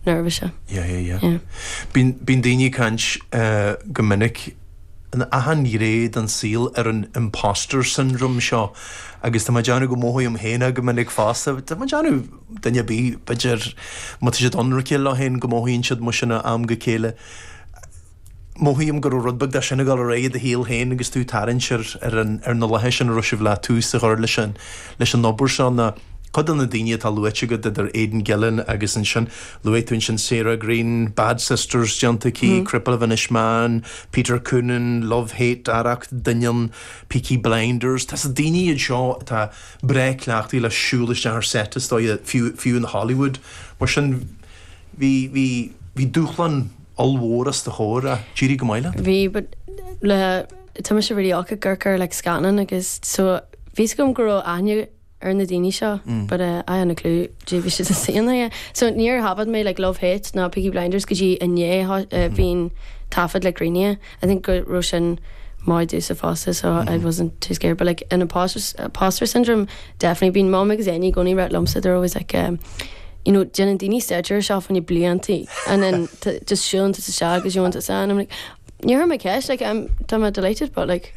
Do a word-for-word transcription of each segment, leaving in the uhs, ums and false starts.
nervous. Yeah, yeah, yeah. yeah. Bíonn daoine ag caint uh, go minic in achan ghné den saol ar an imposter syndrome seo agus tá déanamh go mothaím féin go minic fosta Tá déanamh duine bí b'fhéidir má tá siad ionraic leo féin go mothaíonn siad mar sin am go chéile. Mothaím go rud beag de sin ag dul ar aghaidh i do shaol féin agus tú tarraingt ar ar na laethe sin a raibh sibh le tús a chur leis an leis an obair seo na Cuid de na daoine atá luaite agat idir Aidan Gillen agus ansin luaigh tú ansin Sarah Greene, Bad Sisters déanta aici, mm. Cripple of Inishmaan, Peter Coonan, Love Hate, Arracht, Doineann, Peaky Blinders, Tá sa daoine iad seo atá breá cleachtaithe le siúl isteach ar set is dóigh fiú fiú in Hollywood. Mar sin bhí bhí bhí dúshlán ollmhór os do chomhair a d'éirigh go maith leat? Bhí but le tá mise really ag amharc ar like scannáin agus so bhí agam go raibh aithne ar na daoine seo mm. but uh, I had no clue dé bhí siad a so níor thaifead mé like Love Hate ná Peaky Blinders go dtí inné uh, mm. bhín taifead le gréine I think go raibh sin maith domsa fosta so mm -hmm. I wasn't too scared but like in imposter, imposter syndrome definitely bíonn mom agus Enya i gcónaí ag rá liomsa they're always like um, you know déanann daoine staidéar seo fan bliantaí and then just siúlann tú isteach agus you want to I'm like níor mé ceist like I'm tá mé delighted but like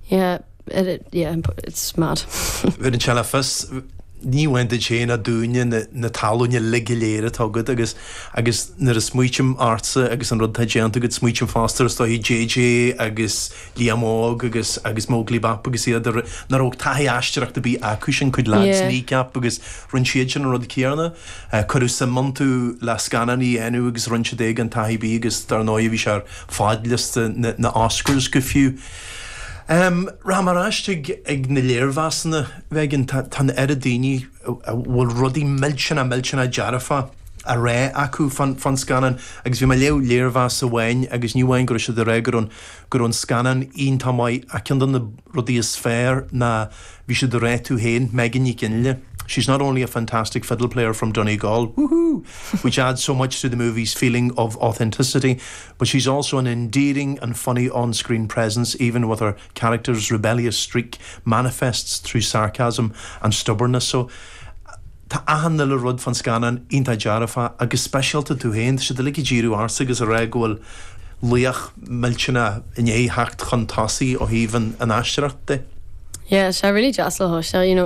yeah, yeah it, it, yeah it's mad. Bhí an se fis ní bhain sé na dúine na talúine le go léir atá agat agus agus nuair a smaoiním ortsa agus an rud atá déanta agat smaoiním fosta is dóigh JJ agus Liam Óg agus agus Móglaí Bap agus iad nach raibh taithí aisteoireachta ar bith acu sin cuid lads Kneecap agus rinne siad sin an rud céanna cuireadh suim iontu le scannán a dhéanamh agus rinne siad é gan taithí ar bith agus dar ndóigh bhí sé ar fhadliosta na, na Oscars go fiú. Um, Ramaráist ag, ag na léirmheasanna bheith tá an oiread daoine a bhfuil rudaí millteanna millteanna dearfa á rá acu fan, fan scannán agus bhí mé ag léamh léirmheas amháin agus ní amháin go raibh siad ag rá go raibh go raibh an scannán iontach maith a ceann de na rudaí is fearr ná bhí siad ag rá tú féin Megan Ní Ginle. She's not only a fantastic fiddle player from Donegal, woohoo, which adds so much to the movie's feeling of authenticity, but she's also an endearing and funny on-screen presence, even with her character's rebellious streak manifests through sarcasm and stubbornness. So Tá achan uile rud fan scannán iontach dearfa agus speisialta tú féin, siad uilig ag díriú ortsa agus ag rá go bhfuil laoch millteanach i ndiaidh theacht chun tosaigh ó thaobh an an aisteoireacht de. Yeah, sé really deas le cloisteáil, you know